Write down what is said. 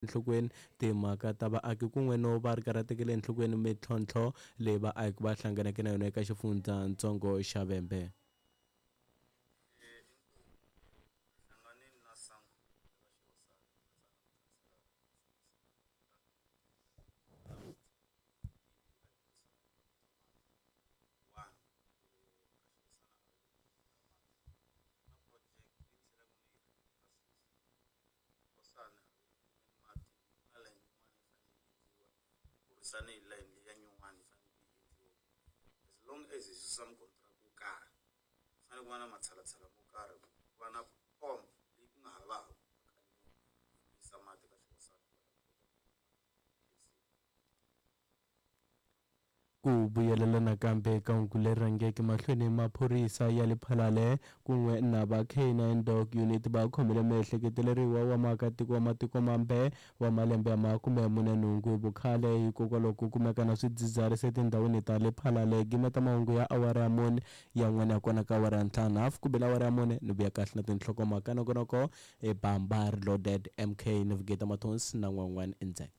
Enhlokweni timhaka ta vaaki kun'we no va ri karhi a tekele enhlokweni mintlhontlho leyi vaaki va hlanganeke na yona eka xifundzatsongo xa Vhembe. Hosana a yi kumeni mati ku na layeni yin'wana yi fanele yi endliwa yi burisane hi layeni liya nyuwani yi fanele yi endliwa as long as hi susa mukontiraka wo karhi ku fanele ku va na matshalatshala mo karhi ku va na pomp leyi ku nga havaku yi yisa mati ka xihosana ku va ta kota ku kuma mati. Ku vuyelela nakambe ka hungu leri rhangeke mahlweni, maphorisa ya le Phalale kun'we na va K9 Dog Unit va khomile muehleketeleriwa wa muakatiko wa matiko mambe wa malembe ya 48 hi vukhale hikokwalaho ko kumeka na swidzidziharisi etindhawini ta le Phalale. Gimeta mahungu ya awara ya mune yan'wana ya kona ka awara ya ntlhanu hafu ku bile awara ya mune ni vuya kahle na tinhlokomhaka nongonoko i Bamba Reloaded MK Navigator Mathonsi na n'wan'wana endzhaku.